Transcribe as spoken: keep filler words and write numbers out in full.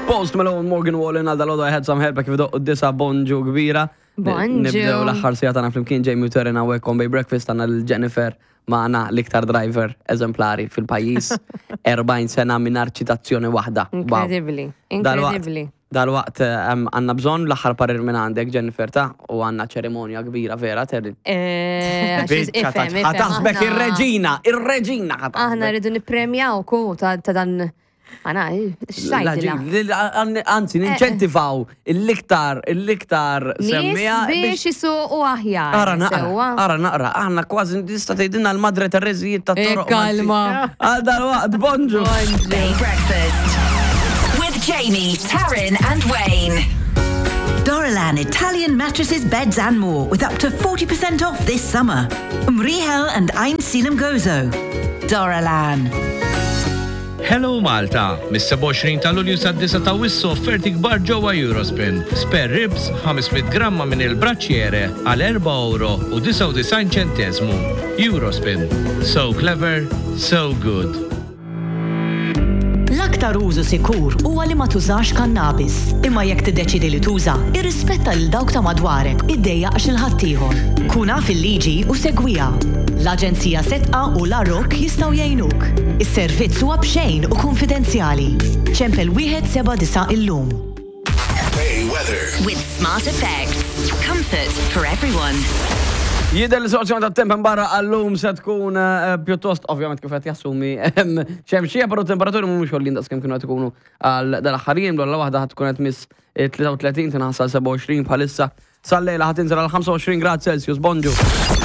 Post Malone, Morgan Wallen, għal dalgħodu I Had Some Help, kif doqqu d-disgħa, bonġu kbira. Bonġu. Nibdew l-aħħar siegħa tagħna flimkien Jamie u Terena u on Bay Breakfast, għandna l-Jennifer magħna, l-iktar driver eżemplari fil-pajjiż. erbgħin sena mingħajr ċitazzjoni waħda. Wow. Incredibly. Dalwaqt- Incredibly. Dalwaqt em, għandna bżonn l-aħħar parir minn għandek, Jennifer, ta' u għandna ċerimonja kbira vera, Terry. Eh, għax Biċċa ta' ifhem, ifhem, ħa taħsbek aħna- ir-reġina, ir-reġina Aħna ħa taħsbek. rridu nippremjaw ku ta' ta' dan. Għana, x'tgħidilha? Anzi, ninċentivaw l-iktar, l-iktar Nies semmija biex jisuqu aħjar. Ara naqra, sewwa. ara naqra, aħna kważi tista' tgħidilna l-Madre Tereżijiet ta' Eh, toroq. kalma. Għal dalwaqt, bonġu. Bay Breakfast. With Jamie, Taryn, and Wayne. Dorolan Italian mattresses, beds and more with up to forty percent off this summer. Mriehel and Għajnsielem Gozo. Dorolan. Hello Malta! Mis-sebgħa u għoxrin ta' Lulju sad-disgħa ta' Awwissu offerti kbar ġewwa Eurospin. Spare ribs ħames mitt gramma minn il-braċiere għal erba' euro u disgħa u disgħin ċentesmu. Eurospin. So clever, so good. L-aktar użu sikur huwa li ma tużax kannabis. Imma jekk tiddeċidi li tuża, irrispetta lil dawk ta' madwarek, iddejjaqx lil ħaddieħor. Kun af il-liġi u segwiha. L-Aġenzija Sedqa u l-Arok jistgħu jgħinuk. Is-servizz huwa b'xejn u konfidenzjali. Ċempel wieħed seba' disa' illum. With Smart Effects. Comfort for everyone. Jidher li sitwazzjoni ta' temp barra għallum se tkun eh, pjuttost, ovvjament kif qed jassumi, xemxija, però temperaturi mhumiex għoljin daqs kemm kienu qed ikunu għal dal-aħħar jiem. L waħda ħad tkun qed miss tlieta u tletin, tinħassal sebgħa u għoxrin bħalissa. Sal-lejla ħa tinżel għal ħamsa u għoxrin grad Celsius. Bonġu.